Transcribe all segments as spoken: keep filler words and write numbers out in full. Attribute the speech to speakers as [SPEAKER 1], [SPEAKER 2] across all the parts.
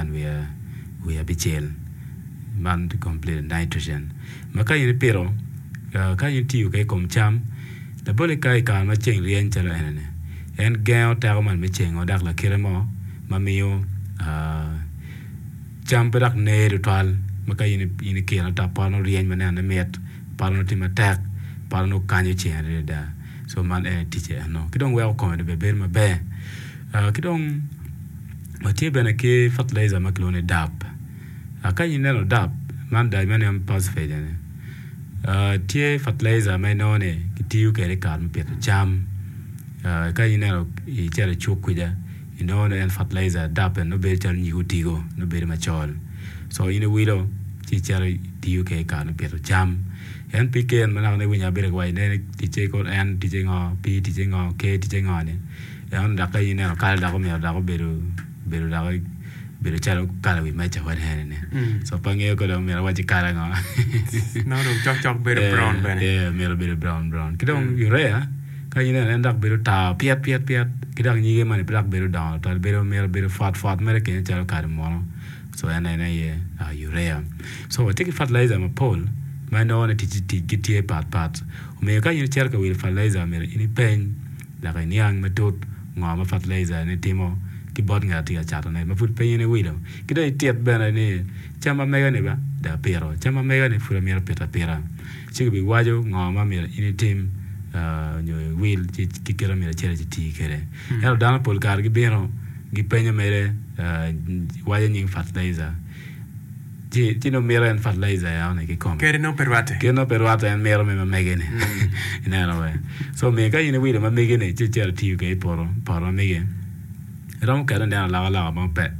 [SPEAKER 1] angwen wiye wiye abicel man complete nitrogen ma ka in ipito ka in itiyo kwede i kom cam labole ka i kare ma ceng ryeny calo enini en gengo teko man me cengo dok lakite mo ma miyo cam pe dok ner tutwal ma ka in ikiro ento pot nongo ryeny ma nenone mit pot nongo tye matek pot nongo kanyo ceng adada so man en aye ticce eno ki dong weko kome bene bedo maber ki dong watye bene ki fertilizer ma kilwongo ni DAP ka in ineno DAP man diammonium phosphate eni tye fertilizer ma inongo ni kitiyo kwede i kare me pito cam ka ineno icito i cuk kwija inongo ni en fertilizer DAP eni nongo bedo calo nyig otigo nongo bedo macol so in iwilo ci icito itiyo kwede i kare me pito cam NPK ma naka iwinyo abedo ka waco ne ticce kor N ticce ngo P ticce ngo K ticce ngo ni eno dok ka in ineno kala dok omyero dok obedo obedo dok obedo calo kala wi meja wa eni so pe angeyo ka dong myero awaci kala ngo
[SPEAKER 2] Nongo dong cokcok bedo brown bene.
[SPEAKER 1] Yeah, myero obedo brown brown ki dong urea ka in ineno en dok bedo tar pyet pyet pyet ki dok nyige moni pe dok bedo dongo twal bedo myero bedo fwat fwat mere kenyo calo kado munu so en aye urea so watye ki fertilizer mapol ma inongo ni ticgi tye patpat omiyo ka in icito ka wilo fertilizer myero in ipeny dok iniang matut ngo ma fertilizer ni timo ki bot ngat atye ka catone ma pud pe in iwilo ki dong itit bene ni cam ma mega ni ba dong apito cam ma mega ni pud amito pito apita ci kibiwaco ngo ma myero in itim nyo iwil ki kite myero icit iti kwede ento dano pol kare gibino gipenyo mere waco nying fertilizer ci ci nongo mito en fertilizer eno kikome
[SPEAKER 2] Kede nongo pe rwatte.
[SPEAKER 1] kede nongo pe rwatte en mito me mamege-ni ineno we so omiyo ka in iwilo ma mege-ni ci icito itiyo kwede i poto poto ma mege iromo kete ineno alokaloka mo pe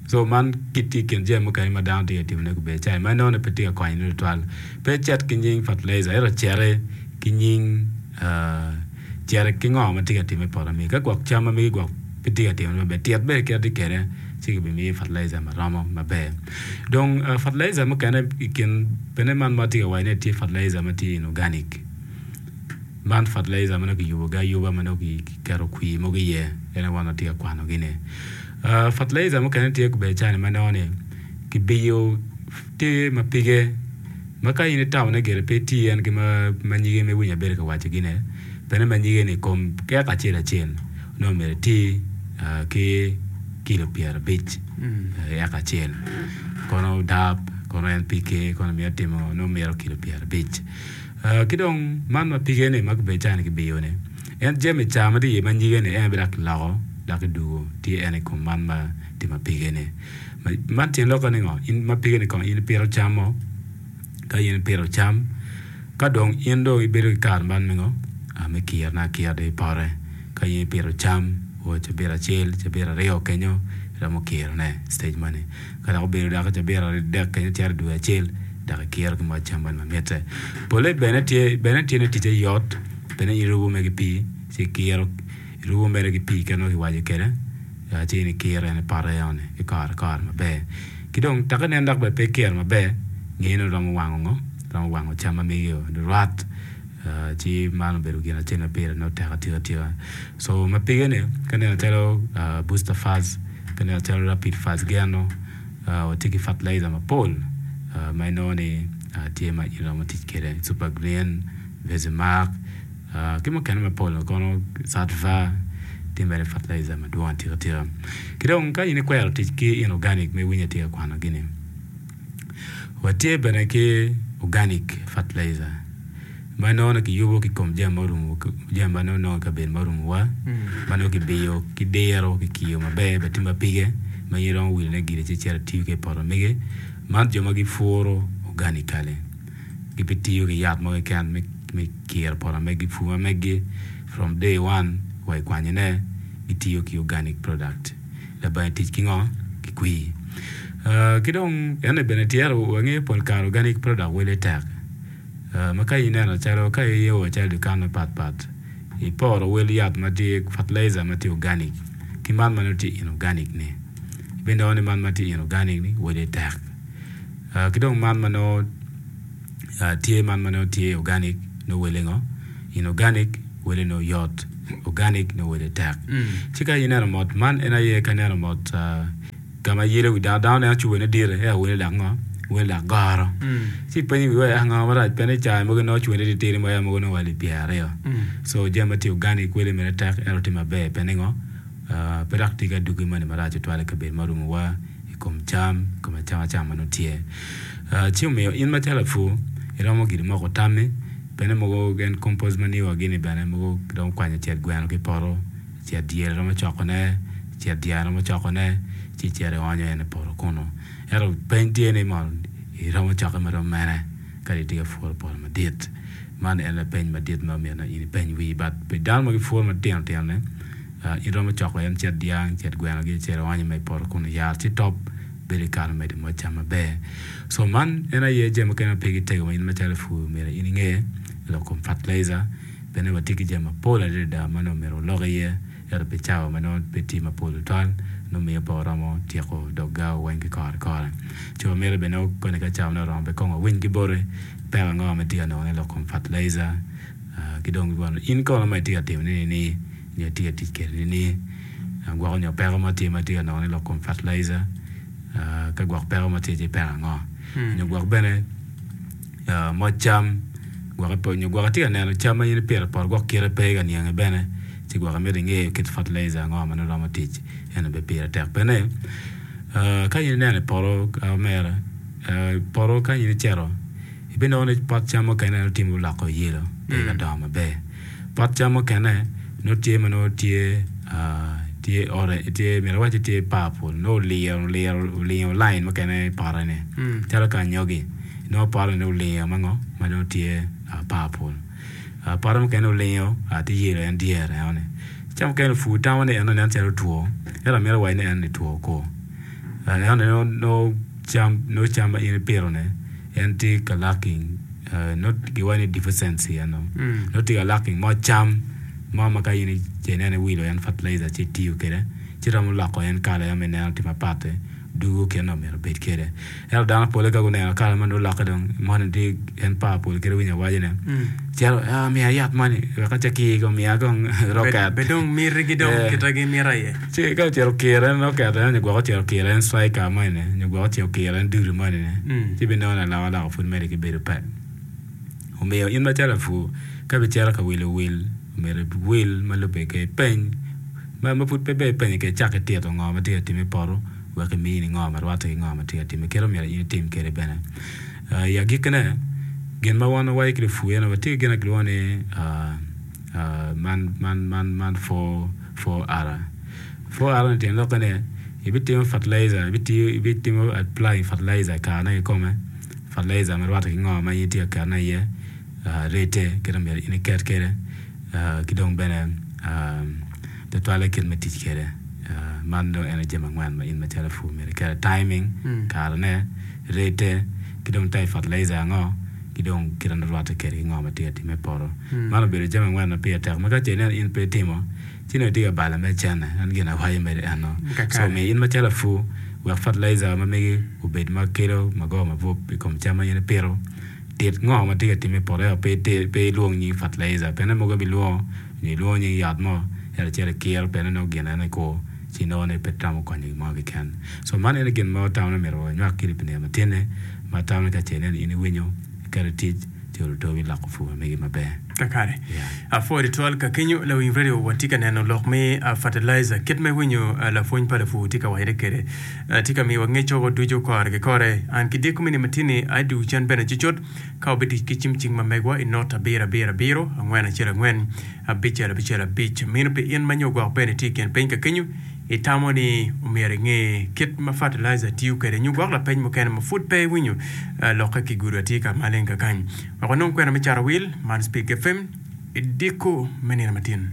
[SPEAKER 1] so man tye i kin jami mukene ma dano tye ka timone gubedo cai ma inongo ni pe tye ka konyone tutwal pe icit ki nying fertilizer ento citi ki nying citi ki ngo ma tye ka timme i poto megi ka gwok cam ma megi gwok pe tye ka timone maber tit bene kit atye kwede ci kibimiyi fertilizer maromo maber dong fertilizer mukene i kin bene man ma atye ka waco ni tye fertilizer ma tye inorganic man fertilizer ma nongo kiyubogi ayuba ma nongo kiketo kwir mogo iye en aye wan watye ka kwanogi-ni fertilizer mukene tye gubedo cani ma nongo ni kibiyo tye ma pige ma ka in itamo ni gire pe iti en ki ma nyige ma iwinyo abedo ka wacogi-ni bene ma nyige-ni i kom eka acel acel nongo myero iti ki kilo pyerabic i eka acel kono DAP kono NPK kono mito timo nongo mito kilo pyerabic ki dong man ma pige-ni ma gubedo cani kibiyo-ni en jami ca ma tye iye ma nyige-ni en aye dok kiloko dok kidugo tye en i kom man ma tye ma pige-ni man tyen lokke ni ngo in ma pige-ni kong in ipito cam mo ka in ipito cam ka dong in dong ibedo ki kare man me ngo me kirone akira dong i pote ka in ipito cam o cabit acel cabit aryo kenyo iromo kirone stage moni ka dok obedo dok cabit adek kenyo cito i dwe acel dok ikiro ki moc cam moni ma mitte pole bene tye bene tye ni ticce yot bene in irubo mere ki pii ci ikiro irubo mere ki pii kit ma kiwaco kwede ci in ikiro en i pote enoni ki kore kore maber ki dong dok inen dok bene pe ikiro maber nge ni romo wango ngo romo wango cam ma megi rwat ci man obedo gin acel ma pire nongo tek atika tika so ma pige-ni ka ineno calo booster fast ka ineno calo rapid fast geno watye ki fertilizer mapol ma inongo ni tye ma iromo tic kwede super green Vezimark ki mukene mapol kono Satva tye mere fertilizer madwong atika tika ki dong ka in ikwero tic ki inorganic ma iwinyo atye ka kwanogi-ni watye bene ki organic fertilizer ma inongo ni kiyubo ki kom jami ma jami ma nongo i kabedo ma orumowa ma nongo kibiyo ki diro kikiyo maber bene tye ma pige ma in iromo wilone gire ci icito itiyo kwede i poto mege man jo ma gipuro organically gibitiyo ki yat mo keken me kiro poto megi pur ma megi from day one wa i kwanyone gitiyo ki organic product labange tic ki ngo ki kwir ki dong eni bene tyero wangeyo pol kare organic product wele tek ma ka ineno calo ka io calo dukan mapatpat iporo wel yat ma tye fertilizer ma tye organic ki man ma nongo tye inorganic ni ibinongo ni man ma tye inorganic ni wele tek ki dong man ma nongo tye man ma nongo tye organic nongo wele ngo inorganic wele nongo yot organic nongo wele tek ci ka ineno mot man en aye ka ineno mot Ka ma yelo wi dano, dano neno cupa ne dit, ento wele dok ngo? Wele dok goro. Ci ipenyo wi wai ngo marac pien ni caa mogo nongo cupa ne titidi mo mogo nongo wa alip pyera aryo. So jami ma tye organic wele mere tek ento tye maber pien ni ngo? Pe dok tye ki adwogi moni marac tutwal i kabedo ma orumowa i kom cam, i kom acamacam ma nongo tye. Ci omiyo in macalo lapur iromo gire moko tammi pien ni mogo en compost manure gini bene mogo kiromo kwanyo cet gweno ki i poto, cet dyel romo cokone, cet dyang romo cokone ci icito ionyo en i poto kunu. Ento peny tye ni mono iromo cokke marom mene ka itye ka puro poto madit. Man en lapeny madit ma myero in ipeny wii but pi dano ma gipuro matino tino ni iromo coko en cet dyang, cet gweno gi icito ionyo ma i poto kunu yat ci top bedo i kare medo moc cam maber. So man en aye jami mukene ma pe gitego ma in macalo lapur myero in inge lok kom fertilizer pien ni watye ki jami mapol adada ma nongo myero walok iye ento pi cawa ma nongo pe tye mapol tutwal nongo miyo pe waromo tyeko dog gawa weng ki kore kore. Ci wamito bene koni ka cawa ne oromo bene kong wawiny ki boti peko ango ma itye ka nongo ne lok kom fertilizer ki dong in kono ma itye ka timo ne ni nyo itye ka tic kwede ni gwoko nyo peko mo tye ma itye ka nongo ne lok kom fertilizer ka gwok peko mo tye ci peko ango nyo gwok bene moc cam gwok nyo gwok itye ka neno cam ma in ipito i poto gwok kite pe ka niangi bene ci gwok imito inge kit fertilizer ango ma nongo romo tic eno bene pire tek pien ka in ineno i poto omera poto ka in icito ibinongo ni pot cam mukene nongo tye ma oloko yelo pe ka dongo maber. Pot cam mukene nongo tye ma nongo tye tye orange tye myero awac ni tye purple nongo oliro oliro olingo line mukene i pote-ni calo ka anyogi nongo pote ni olingo ma ngo ma nongo tye purple. Pote mukene olingo tye yelo en dyere enoni. Ca mukene lupur tamo ni eno nen calo two ento amito waco ni en ni two ko. Enoni nongo cam nongo cam ma in ipito-ni en tye ka lacking nongo giwaco ni deficiency eno nongo tye ka lacking moc cam mo ma ka in ineno iwilo en fertilizer ci itiyo kwede ci romo loko en kala en ma ineno tye mapat dugo kit ma myero obed kwede. Ento dano pole ka guneno kala man olokke dong moni tye en purple kit iwinyo awaco ne cito miya yat moni wek acakir kong miya kong rocket.
[SPEAKER 2] Be dong mitigi dong kite gimito aye.
[SPEAKER 1] Ci ka ocito okiro en rocket eno nyo gwok ocito okiro en striker moni ni nyo gwok ocito okiro en dudu moni ni ci ibinongo ni alokaloka pud medde ki bedo pe. Omiyo in macalo lapur ka ibicito ka wilo wil myero iwil ma lubbe ki peny ma pud pe ber ipenyo kwede icak itito ngo ma tye ka timme i poto wek imini ngo ma rwatte ki ngo ma tye ka timme kit myero in itim kwede bene. I agikkine gin ma wan wawaco ki lupur eno watye ki gin ma kilwongo ni man man man man four four R. Four R ni tyen lokke ni ibitimo fertilizer ibitiyo ibitimo applying fertilizer i karene kikome fertilizer ma rwatte ki ngo ma in itye ka ketone iye rate kit ma myero in iket kwede ki dong bene tutwalle kit me tic kwede. Man dong en aye jami angwen ma in macalo lapur myero iket timing karene rate ki dong type fertilizer ango ki dong kit ma rwatte kwede ki ngo ma tye ka timme i poto. Man obedo jami angwen ma pire tek ma ka ce ineno in pe itimo ci nongo itye ka balo mere cene en gin awaco mere eno. So omiyo in macalo lapur wek fertilizer ma megi obed ma kelo magoba mabup i kom cam ma in ipito tit ngo ma tye ka timme i poto ento pe ilwong nying fertilizer pien mogo ibilwongo nyo ilwongo nying yat mo ento icito ikiro pien nongo gin eno ikur ci inongo ni pe romo konyo gin mo keken. So man en gin ma watamo ni myero wanywak kwede pi nino matin-ni ma atamo ni ka ce ineno in iwinyo iketo i tic ci oluto biloko pur ma megi maber.
[SPEAKER 2] Kakare. Apwoyo tutwal ka kenyo lawiny radio watye ka neno lok me fertilizer kit ma iwinyo lapwony pa lapur tye ka wacone kwede tye ka miyowa ngec woko ducu kore ki kore. An ki dyeko me nino matin-ni adwogo cen bene cucut ka wabitic ki cim cing ma megwa i not abiro abiro abiro angwen acel angwen abicel abicel abic. Meno pi in ma nyo gwok bene itye i kin piny ka kenyo itamo ni omyero inge kit ma fertilizer tiyo kwede nyo gwok lapeny mukene ma pud pe iwinyo lokke ki gudo atir ka maleng kakany. Wek wanong kwena me cato wil man Speak F M i dyeko me nino matin.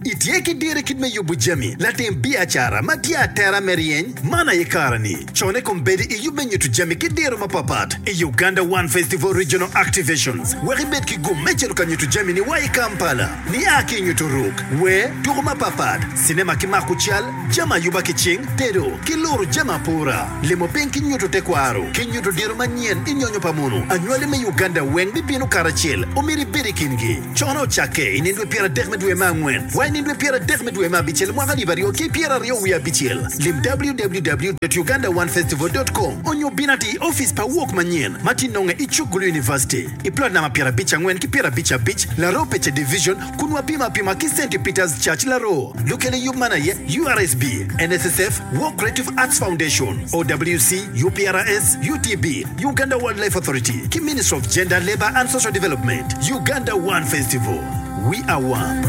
[SPEAKER 3] Itye ki diro i kit me yubo jami, latim biacara ma tye atera me ryeny? Man aye kare-ni. Cone kombeddi i yub me nyuto jami ki diro mapapat i Uganda One Festival Regional Activations wek ibed ki gum me cito ka nyuto jami-ni wa i Kampala. Nia ki i nyuto ruk, wer, tuko mapapat, cinema ki mako cal, jami ayuba ki cing, tedo, ki luro jami apura, limo piny ki nyuto tekwaro, ki nyuto diro manyen i nyonyo pa munu. Anywali me Uganda weng bibino karacel, omyero ibed i kingi. Cone ocakke i nino dwe pyeradek me dwe me angwen wa I nino dwe pyera adek me dwe me abicel mwaka alip aryo ki pyera aryo wiye abicel. Lim W W W uganda one festival com onyo bin ati i office pa wok manyen ma tye nonge i cuk Gulu University i plot namba pyera abic angwen ki pyera abic abic Laro Pece Division kun wapimo apima ki Saint Peter's Church Laro. Lukele yub man aye U R S B, N S S F, Walk Creative Arts Foundation, O W C, U P R S, U T B, Uganda Wildlife Authority ki Ministry of Gender, Labor and Social Development. Uganda One Festival. We are one.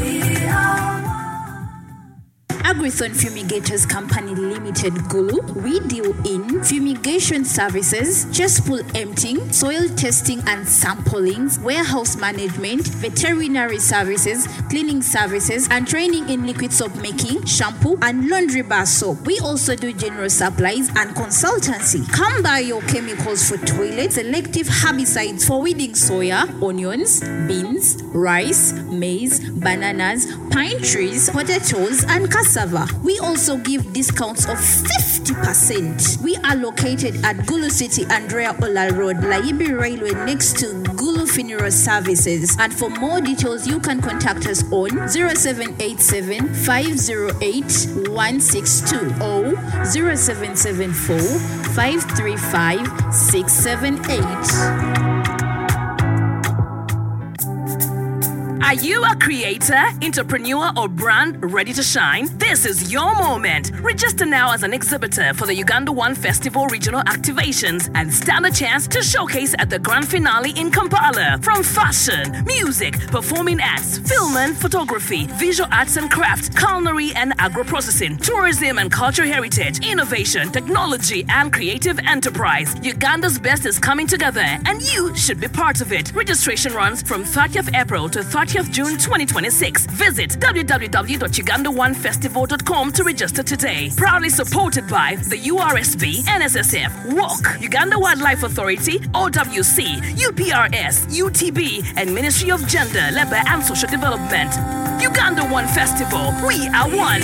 [SPEAKER 4] Agrithon Fumigators Company Limited Gulu, we deal in fumigation services, cesspool emptying, soil testing and sampling, warehouse management, veterinary services, cleaning services, and training in liquid soap making, shampoo, and laundry bar soap. We also do general supplies and consultancy. Come buy your chemicals for toilets, selective herbicides for weeding soya, onions, beans, rice, maize, bananas, pine trees, potatoes, and cassava. We also give discounts of fifty percent. We are located at Gulu City, Andrea Ola Road, Layibi Railway, next to Gulu Funeral Services. And for more details, you can contact us on zero seven eight seven five zero eight one six two or zero seven seven four five three five six seven eight.
[SPEAKER 5] Are you a creator, entrepreneur, or brand ready to shine? This is your moment. Register now as an exhibitor for the Uganda One Festival regional activations and stand a chance to showcase at the grand finale in Kampala. From fashion, music, performing arts, film and photography, visual arts and craft, culinary and agro-processing, tourism and cultural heritage, innovation, technology, and creative enterprise. Uganda's best is coming together and you should be part of it. Registration runs from thirtieth April to thirtieth June twenty twenty-six. Visit w w w dot uganda one festival dot com to register today. Proudly supported by the U R S B, N S S F, WALK, Uganda Wildlife Authority, O W C, U P R S, U T B, and Ministry of Gender, Labor and Social Development. Uganda One Festival. We are one.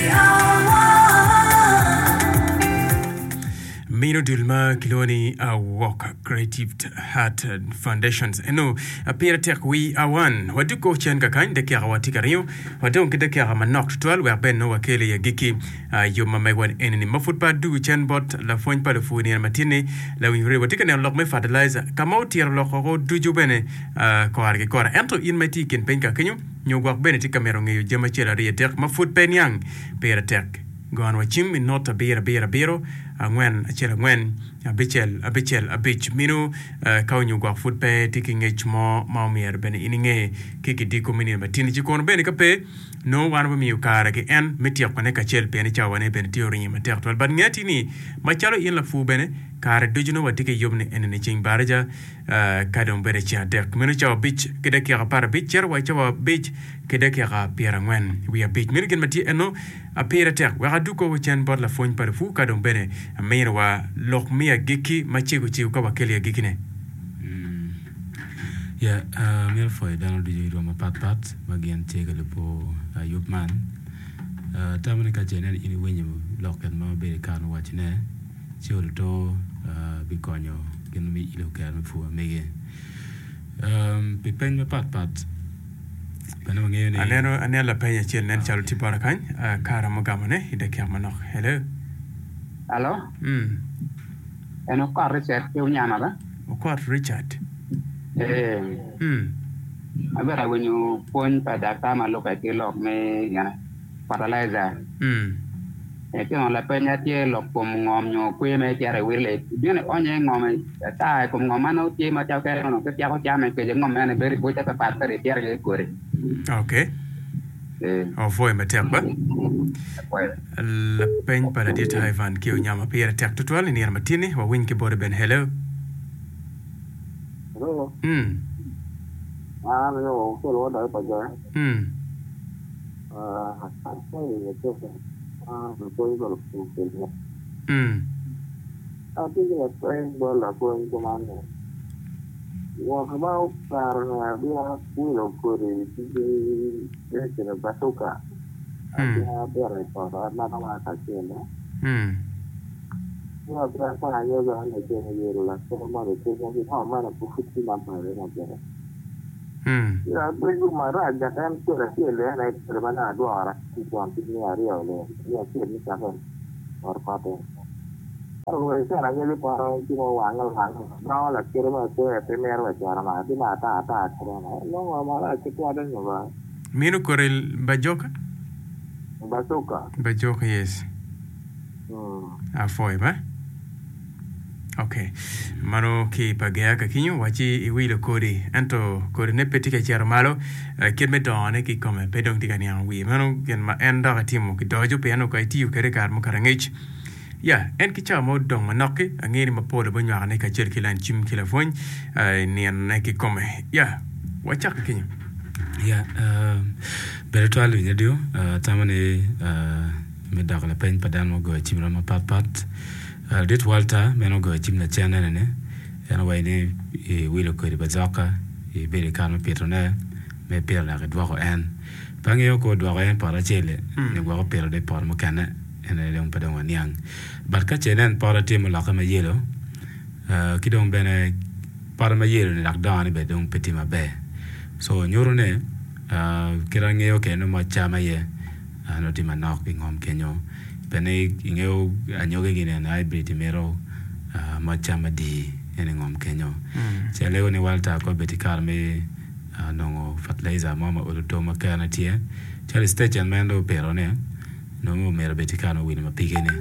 [SPEAKER 2] Mino dul ma kilwongo ni uh, Walk Creative Heart Foundations eno pire tek we are one. Waduko cen kakany dakika watye ka ringo wadong ki dakika manok tutwal wek bene nongo wakelo i agikki uh, yub ma megwa enini ma pud pa adugo cen bot lapwony pa lupur nino matin-ni lawiny radio watye ka neno lok me fertilizer ka ma otyero lok oko ducu bene uh, kore ki kore ento in ma itye i kin piny ka kenyo nyo gwok bene tye ka mito ngeyo jami acel aryo adek ma pud pe niang pire tek gon wa cim i not abiro abiro abiro angwen acel angwen abicel abicel abic mino uh, ka onyo gwok pud pe tye ki ngec mo ma omyero bene in inge ki kidiko me nino matin ci kono bene ka pe nongo wan wamiyo kare ki en me tyekone kacel pien cawane bene tye oringo matek twal but ngeti ni macalo in lapur bene kare ducu nongo watye ki yub ni enini ceng baraja uh, ka dong bedo ceng adek meno cawa abic ki dakika apar abic cito wa i cawa abic ki dakika pyerangwen wiye abic meno gin ma tye eno apire tek wek aduko cen bot lapwony pa lapur ka dong bene aminowa lok me agikki macego cego ka wakelo i agikkine.
[SPEAKER 1] Yeah, uh, myero pwoyo dano ducu i rwom mapatpat ma gin tye ka lubo uh, yub man. Uh, tamo ni ka ce inen in iwinyo lok ket ma obedo i kare me wacone ci oluto uh, bikonyo gin me ilo kero me pur mege. Um, pi peny mapatpat bene wangeyo ni
[SPEAKER 2] Aneno aneno lapeny acel nen calo tye bota kany uh, kara mugamone i dakika manok. Hello.
[SPEAKER 6] Alo,
[SPEAKER 2] mm.
[SPEAKER 6] en Okot Richard ki Unyama ba?
[SPEAKER 2] Okot Richard.
[SPEAKER 6] Eh,
[SPEAKER 2] mm.
[SPEAKER 6] abedo awinyo pwony pa daktar ma lube ki lok me gine, fertilizer.
[SPEAKER 2] Mm.
[SPEAKER 6] Eh, tino lapeny tye lok kom ngom nyo kwer me cito i wil bino ionyo i ngom ata i kom ngom ma nongo tye macalo kere onongo kityeko came kece ngom mene bedo i buce papat kadi icito iye i kodi.
[SPEAKER 2] Okay.
[SPEAKER 6] Eh,
[SPEAKER 2] Opwoyo matek ba.
[SPEAKER 6] Apwoyo.
[SPEAKER 2] Lapeny pa ladit Ivan ki Onyama pire tek tutwal i nino matini wawiny ki bote ben. Hello.
[SPEAKER 7] Hello.
[SPEAKER 2] mm.
[SPEAKER 7] An yo kelo wada pa ja.
[SPEAKER 2] Mm.
[SPEAKER 7] Ah, ay ito. Ah, ko ko ko.
[SPEAKER 2] Mm.
[SPEAKER 7] Ati ko pa bola ko ko man. Wa ka ba par na bia wilo kori ti ti na basuka. Ati
[SPEAKER 2] Mm.
[SPEAKER 7] ha bere ko na na ma ka chelo.
[SPEAKER 2] Mm.
[SPEAKER 7] Wa bia pa yo ga na che ye la ko ma de ko ko ha ma na pu futi ma pa re na bere. Ya bedo marac dok en kodi acel en aye kodi ma dong adwora ki twon piny me aryo le me acel me cake ot kote. Ento kobedi cen anyogi poto ci mo wange owange dongo lakite mo akweya pe mito wa cito malo tye ma ata ata kede nongo marac tutwal nyo ba
[SPEAKER 2] Meno kodi bajoka?
[SPEAKER 7] Bazuka.
[SPEAKER 2] Bajoka, yes.
[SPEAKER 7] Mm.
[SPEAKER 2] Apwoyo ba. Ok. Mano ki pa Gea ka kinyo waci iwilo kodi ento kodine pe tye ka cito malo eh, kit me dongone ki kome pe dong tye ka niango wiye. Mano gin ma en dok etimo ki doco pien ka itiyo kwede i kare mukato angec. Ya, en ki cawa mo odong manok-ki, angeyo ni mapol obinywakone kacel ki lain cim ki lapwony eh, i ninone ki kome. Ya, wacak ki kinyo.
[SPEAKER 1] Ya, uh, bedo twal winyo radio, uh, atamo ni uh, me doko lapeny pa dano ma ogoyo cim rom mapatpat. Uh, Ladit Walter meno ogoyo cim lacen ene-ni, en owaco ni iwilo kodi bazoka, ibedo i kare me pitone, me pito dok idwoko en. Pe angeyo ka odwoko en i poto acel-li, nyo gwok opito dong i poto mukene, en aye dong pe dong waniang. But ka ce inen poto tye mulokke ma yelo, uh, ki dong bene poto ma yelo ni dok dongone bene dong pe tye maber. So nyuto ni uh, kit angeyo kede nongo moc cam aye uh, nongo tye manok i ngom kenyo. Pien ingeyo anyogi gini eni hybrid mito uh, moc cam adi en i ngom kenyo. Ci alego ni Walter ko obed ki kare me uh, nongo fertilizer mo ma olo tong ma kerane tye. Calo i station ma en dong opito ni nongo myero obed ki kare me wilo ma pige-ni.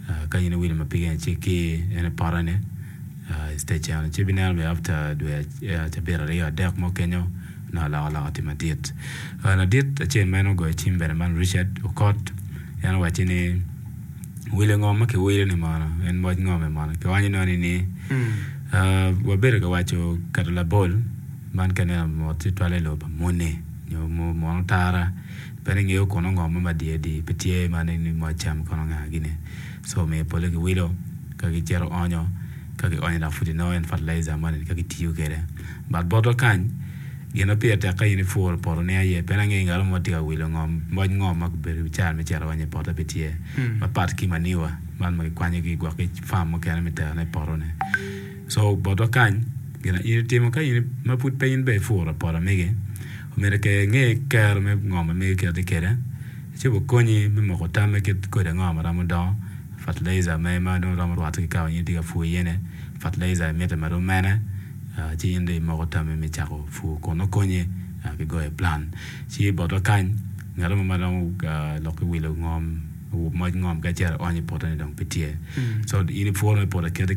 [SPEAKER 1] Uh, ka in iwilo ma pige-ni ci ki en i poto-ni uh, i station ci ibineno bene after dwe uh, cabit aryo adek mo kenyo nongo alokaloka tye madit. Uh, ladit acel ma en ogoyo cim bene man Richard Okot en owacci ni wilo ngom ma kiwilo ni mono en moc ngome mono kionyo noni ni uh, wabedo ka waco keto labol man ka ineno mot tutwalle i lobo pa muni nyo mono tara pe ni ingeyo kono ngom mo madi adi pe tye ma ni moc cam kono nga gini so omiyo pole kiwilo ka gicito onyo ka gionyo dok pud inongo en fertilizer moni ka gitiyo kwede but botwa kany gin ma pire tek ka in ipuro poto ni aye pien angeyo ngat mo tye ka wilo ngom moc ngom ma obedo car me cito onyo i pote pe tye mapat ki manure man ma kikwanyo ki gwok ki farm mukene me terone i poto-ni so botwa kany gin ma in itimo ka in ma pud pe in bene ipuro poto megi omyero ke inge kero me ngom ma megi kit tye kwede ci obikonyi me moko tam me kit kodi ango ma romo dongo fertilizer me ma dong romo rwatte ki ka ma in itye ka pur iye-ni fertilizer mitte ma rom mene uh, ci in dong imoko tammi me cako pur kun nongo konyi uh, ki goyo plan ci botwa kany ngat mo ma romo uh, lok ki wilo ngom moc ngom ka icito ionyo i poto-ni dong pe tye so in ipuro me poto aketa